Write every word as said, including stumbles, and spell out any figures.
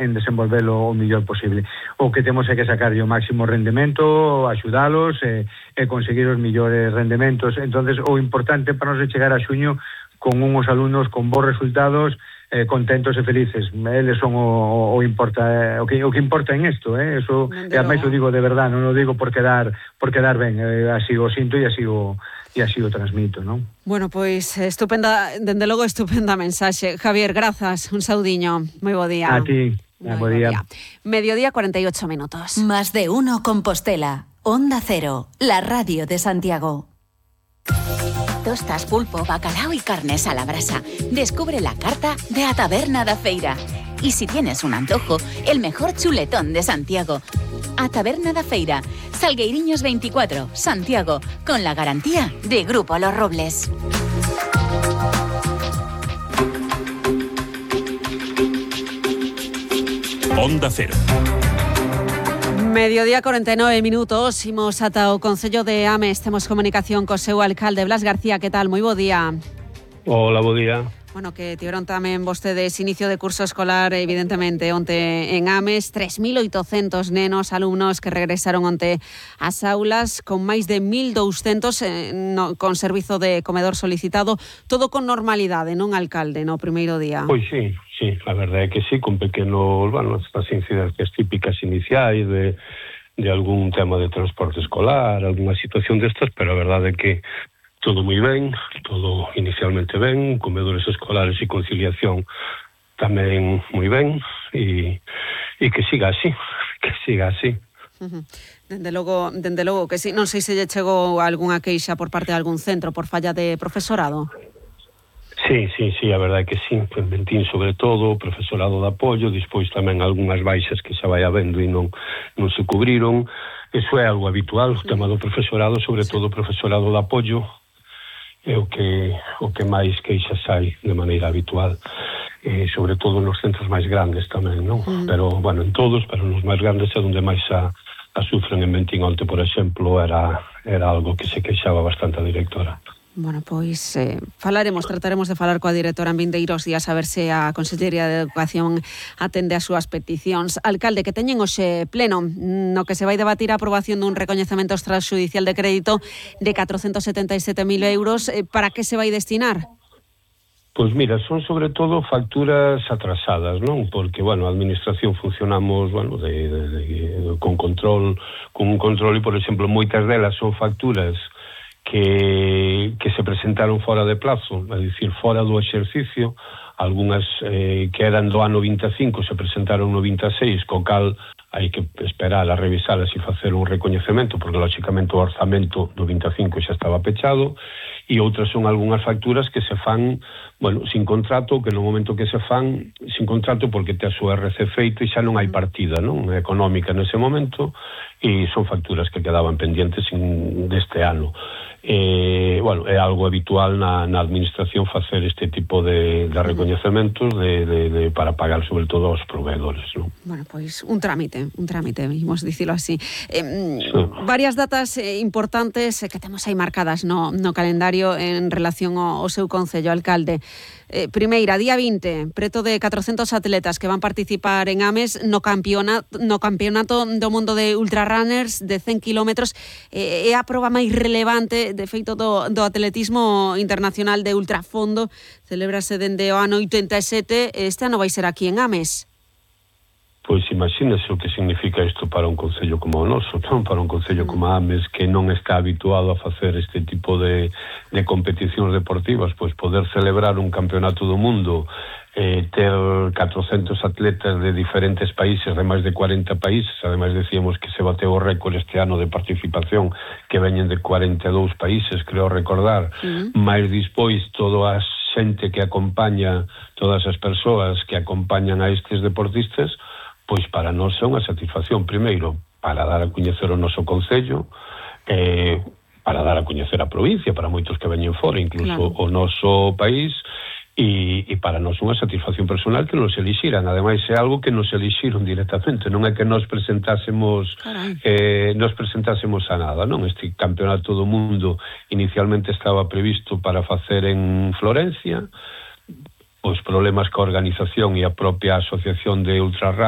en desenvolvelo o mellor posible. O que temos é que sacarlle o máximo rendemento, axudalos e, e conseguir os mellores rendementos. Entonces, o importante para nos é chegar a xuño con unhos alumnos con bons resultados, eh, contentos e felices. Eles son o, o importa, o que o que importa en isto, eh? Eso, e ademais o digo de verdade, non o digo por quedar por quedar ben, eh, así o sinto e así o e así o transmito, non? Bueno, pois estupenda, dende logo estupenda mensaxe. Javier, grazas, un saudiño. Moi bo día. A ti. Muy buen día. día. Mediodía, cuarenta y ocho minutos. Más de uno Compostela. Onda Cero, la radio de Santiago. Tostas, pulpo, bacalao y carnes a la brasa. Descubre la carta de A Taberna da Feira. Y si tienes un antojo, el mejor chuletón de Santiago. A Taberna da Feira, Salgueiriños veinticuatro, Santiago, con la garantía de Grupo Los Robles. Onda Cero. Mediodía, cuarenta y nueve minutos. Imos ata o Concello de Ames. Temos comunicación co seu alcalde, Blas García. Que tal? Moi bo día. Hola, bo día. Bueno, que tiveron tamén vostedes inicio de curso escolar, evidentemente, onte en Ames. tres mil oitocentos nenos, alumnos que regresaron onte ás aulas con máis de mil douscentos eh, no, con servizo de comedor solicitado. Todo con normalidade, non, alcalde, no primeiro día? Pois sí, sí, a verdade é que sí, con pequenos, bueno, estas incidencias típicas iniciais de, de algún tema de transporte escolar, alguna situación destas, pero a verdade é que todo moi ben, todo inicialmente ben, comedores escolares e conciliación tamén moi ben, e, e que siga así, que siga así. Uh-huh. Dende logo, dende logo que sí. Non sei se lle chegou algunha queixa por parte de algún centro por falla de profesorado. Sí, sí, sí, a verdade é que sí, en Ventín sobre todo, profesorado de apoio, despois tamén algunhas baixas que xa vai habendo e non, non se cubriron. Eso é algo habitual, o tema do profesorado, sobre todo o profesorado de apoio, é o que o que máis queixas hai de maneira habitual, eh, sobre todo nos centros máis grandes tamén, non? Mm. Pero, bueno, en todos, pero nos máis grandes é onde máis a, a sufren. En Ventín onte, por exemplo, era, era algo que se queixaba bastante a directora. Bueno, pois eh, falaremos, trataremos de falar coa directora en vindeiros días a ver se a Consellería de Educación atende as súas peticións. Alcalde, que teñen hoxe pleno no que se vai debatir a aprobación dun recoñecemento extrajudicial de crédito de catrocentos setenta e sete mil euros. Eh, para que se vai destinar? Pois mira, son sobre todo facturas atrasadas, non? Porque, bueno, a administración funcionamos, bueno, de, de, de, con control, con un control e, por exemplo, moitas delas son facturas que, que se presentaron fora de plazo, é dicir, fora do exercicio. Algúnas eh, que eran do ano vinte e cinco se presentaron no vinte e seis, co cal hai que esperar a revisalas e facer un recoñecemento, porque lógicamente o orzamento do vinte e cinco xa estaba pechado, e outras son algunhas facturas que se fan, bueno, sin contrato, que no momento que se fan sin contrato porque te a súa R C feito e xa non hai partida, non, económica nese momento, e son facturas que quedaban pendientes in, deste ano. Eh, bueno, é algo habitual na, na administración facer este tipo de, de recoñecementos de, de, de, para pagar sobre todo aos proveedores, non? Bueno, pois un trámite, un trámite, imos dicilo así. Eh, sí. Varias datas eh, importantes eh, que temos aí marcadas no, no calendario en relación ao, ao seu concello, alcalde. Eh, primeira, día vinte, preto de catrocentos atletas que van participar en Ames no campeonato, no campeonato do mundo de ultrarunners de cen kilómetros. Eh, é a proba máis relevante, de feito, do, do atletismo internacional de ultrafondo. Celébrase dende o ano oitenta e sete, este ano vai ser aquí en Ames. Pois imagínese o que significa isto para un concello como o noso, non? Para un concello como Ames, que non está habituado a facer este tipo de, de competicións deportivas, pois poder celebrar un campeonato do mundo, eh, ter catrocentos atletas de diferentes países, de máis de cuarenta países. Ademais decíamos que se bateu o récord este ano de participación, que veñen de cuarenta e dous países, creo recordar, uh-huh. máis dispois toda a xente que acompaña, todas as persoas que acompañan a estes deportistas. Pois para nós é unha satisfacción, primeiro, para dar a coñecer o noso concello, eh, para dar a coñecer a provincia, para moitos que veñen fora, incluso claro. O noso país, e, e para nós unha satisfacción personal que nos elixiran. Ademais, é algo que nos elixiron directamente, non é que nos presentásemos eh, nos presentásemos a nada, non? Este campeonato do mundo inicialmente estaba previsto para facer en Florencia. Os problemas coa organización e a propia asociación de ultrarun